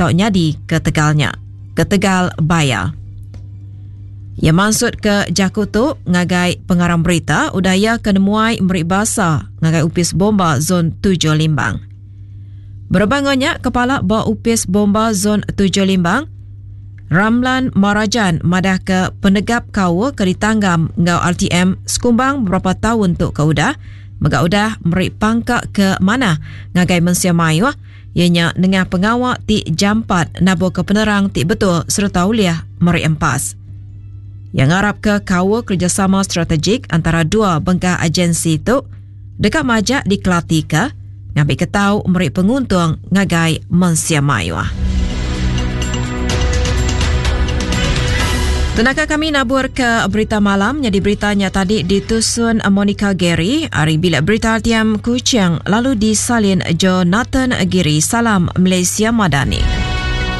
tau nyadi ketegal nya. Ketegal baya. Iya mansutka jaku tu ngagai pengarang berita udah iya ke nemuai meri basa ngagai Opis Bomba Zon Tujuh Limbang. Berebak enggau nya, Kepala ba Opis Bomba Zon Tujuh Limbang, Ramlan Marajan madahka penegap kaul ke ditanggam enggau RTM sekumbang beberapa taun tu ke udah mega udah meri pangka ke manah ngagai mensia mayuh iya nya nengah pengawa ti jampat naburka penerang ti betul sereta ulih meri empas. Iya ngarapka kaul kerejasama strategik antara dua bengkah agensi tu deka majak dikelatika ngambika tau meri penguntung ngagai mensia mayuh. Tenaka kami nabur ke berita malam nyadi berita nya tadi ditusun Monica Gary ari Bilik Berita RTM Kuching lalu disalin Jonathan Giri. Salam Malaysia Madani.